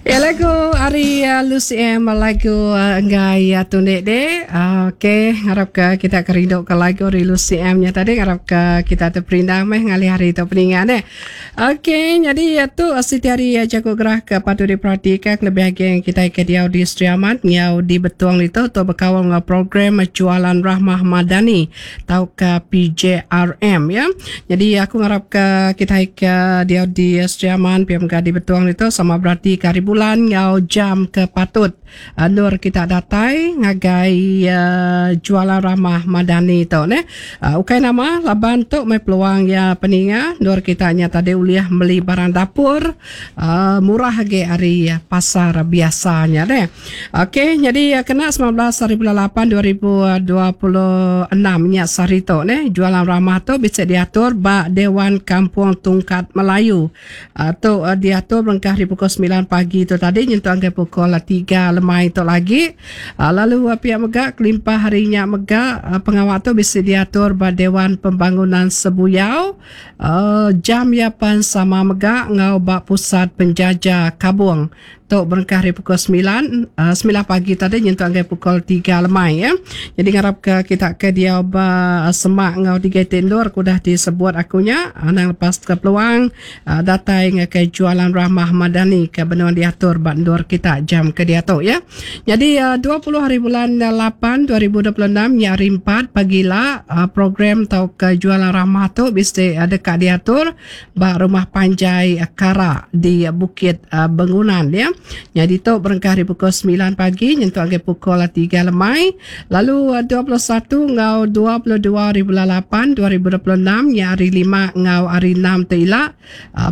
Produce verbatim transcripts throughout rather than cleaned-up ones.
Ya lagu ari uh, Lucy M lagu uh, enggai uh, tundik de. Uh, Okey, ngarap ke kita kerindu ke lagu ari Lucy M nya tadi ngarap ke kita terperindang meh ngalih hari tu peninga deh. Okey, jadi uh, tu uh, siti hari uh, jaku gerah ke patut diperhatikan kelebih agi yang kita ke diau di Sri Aman ngau di Betong itu tu berkawal dengan program Jualan Rahmah Madani tau ke P J R M ya. Jadi aku ngarap ke kita ke diau di Sri Aman P M K di Betong itu sama berarti ke hari bulan ngau jam ke patut uh, nur kita datai ngagai uh, Jualan Rahmah Madani tu ne. Uh, ukai nama laban tu mai peluang ya peninga nur kita nya tadi uliah beli barang dapur uh, murah agi hari pasar biasanya deh. Okey, jadi uh, kena sembilan belas hari bulan lapan dua ribu dua puluh enam nya sehari tu ne Jualan Rahmah tu bisa diatur ba Dewan Kampung Tungkat Melayu. Uh, tu uh, diatur berengkah di pukul sembilan pagi tu tadi nyentuh angka pukul tiga lemai tu lagi. Uh, lalu uh, pihak megak kelimpah harinya megak uh, pengawal tu bisa diatur ba Dewan Pembangunan Sebuyau. Uh, jam ya pan sama megak ngau ba Pusat Penjaja Kabung. Tu berengkah hari pukul sembilan, uh, sembilan pagi tadi nyentuh angka pukul tiga lemai ya. Jadi ngarap ke kita ke dia ba semak ngau tiga tendur kudah disebut akunya anang lepas ke peluang uh, datai ngakai Jualan Rahmah Madani ke benua diatur ba endur kita jam ke dia tu ya. Jadi uh, dua puluh hari bulan lapan dua ribu dua puluh enam ya hari empat pagila uh, program tau ke Jualan Rahmah tu mesti uh, dekat diatur ba Rumah Panjai uh, Kara di uh, Bukit uh, Bengunan ya. Jadi tu berengkah hari pukul sembilan pagi nyentuh angka pukul tiga lemai. Lalu dua puluh satu ngau dua puluh dua hari bulan lapan dua ribu dua puluh enam ya hari lima ngau hari enam tu ila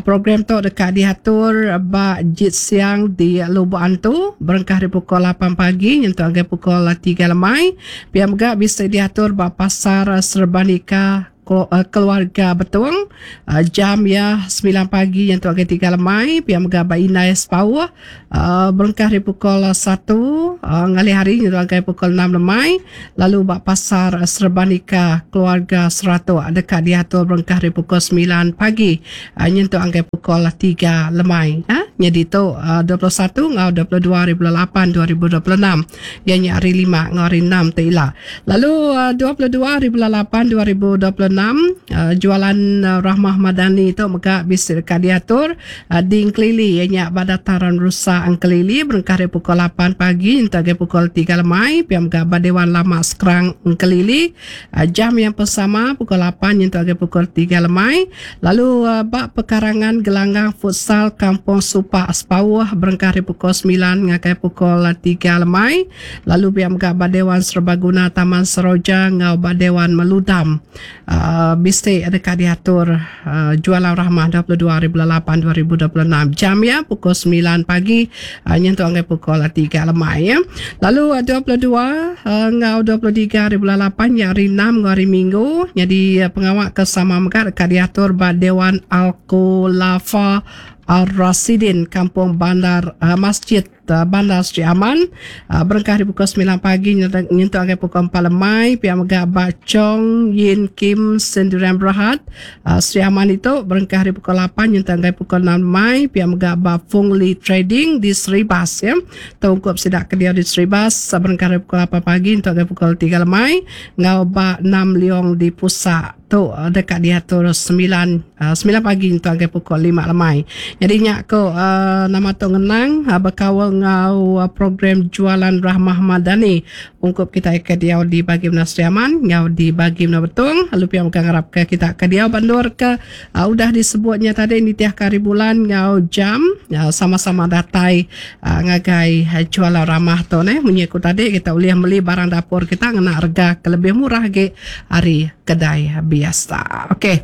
program tu dekat diatur ba Jit Siang di Lubuk Antu berengkah hari pukul lapan pagi nyentuh angka pukul tiga lemai. Pia mega bisa diatur ba Pasar Serbanika Keluarga Betong jam ya sembilan pagi yang tu agak tiga lemai. Pia mega ba Inai Sepauh berengkah dari pukul satu ngalih hari yang tu agak pukul enam lemai. Lalu ba Pasar Serbanika Keluarga Seratuk dekat diatur berengkah dari pukul sembilan pagi yang tu agak pukul tiga lemai. Ha? Jadi tu dua puluh satu ngau dua puluh dua hari bulan lapan dua ribu dua puluh enam yang hari lima ngau hari enam tu ila. Lalu dua puluh dua hari bulan lapan dua ribu dua puluh enam Uh, jualan uh, Rahmah Madani tu mega bisa dekat diatur uh, di Engkelili ianya pada Dataran Rusa Engkelili berengkah dari pukul lapan pagi hingga pukul tiga lemai. Pia mega ba Dewan Lama Skrang Engkelili uh, jam yang bersama pukul lapan hingga pukul tiga lemai. Lalu uh, bak pekarangan gelanggang futsal Kampung Supak Sepauh berengkah dari pukul sembilan hingga pukul tiga lemai. Lalu pia mega ba Dewan Serbaguna Taman Seroja ngau ba Dewan Meludam uh, Uh, mesti dekat diatur uh, Jualan Rahmah dua puluh dua hari bulan lapan dua ribu dua puluh enam jam ya pukul sembilan pagi uh, nyentuh angka pukul tiga lemai ya. Lalu uh, dua puluh dua uh, ngau dua puluh tiga hari bulan lapan ya hari enam ngau hari Minggu. Jadi uh, pengawak kesama mega dekat diatur ba Dewan Al-Khulafa Ar-Rasidin Kampung Bandar uh, Masjid uh, Bandar Sri Aman uh, berengkah di pukul sembilan pagi nyentuh angka pukul empat lemai. Pihak mega Ba Chong Yin Kim Sendirian Berhad uh, Sri Aman itu berengkah di pukul lapan nyentuh angka pukul enam lemai. Pihak mega Ba Fung Li Trading di Seribas ya. Tungkup sidak ke dia di Seribas berengkah di pukul lapan pagi nyentuh angka pukul tiga lemai. Ngau Ba Nam Leong di Pusat tu dekat diatur sembilan sembilan pagi nyentuh angka pukul lima lemai. Jadi nyak ko uh, nama tu ngenang uh, berkawal ngau uh, program Jualan Rahmah Madani ungkup kita ke dia di bagi Menua Sri Aman ngau di bagi Menua Betong. Lalu pihak bukan ngarap ke kita ke dia bandur ke uh, udah disebutnya tadi nitiah hari bulan ngau jam uh, sama-sama datai uh, ngagai uh, Jualan Rahmah tu ne munyi ku tadi kita boleh beli barang dapur kita ngena harga ke lebih murah ge hari kedai biasa. Okey.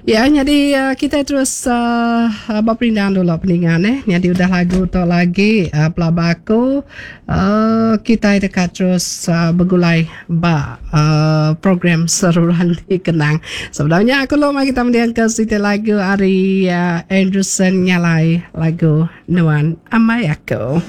Ya, jadi uh, kita terus uh, berperindang dulu peningan eh. Jadi udah lagu tu lagi uh, pelabaku uh, kita dekat terus uh, bergulai ba uh, program Seruran Dikenang. Sebenarnya aku lo mari kita mendiang ke siti lagu ari uh, Anderson Nyalai lagu Nuan Amai Aku.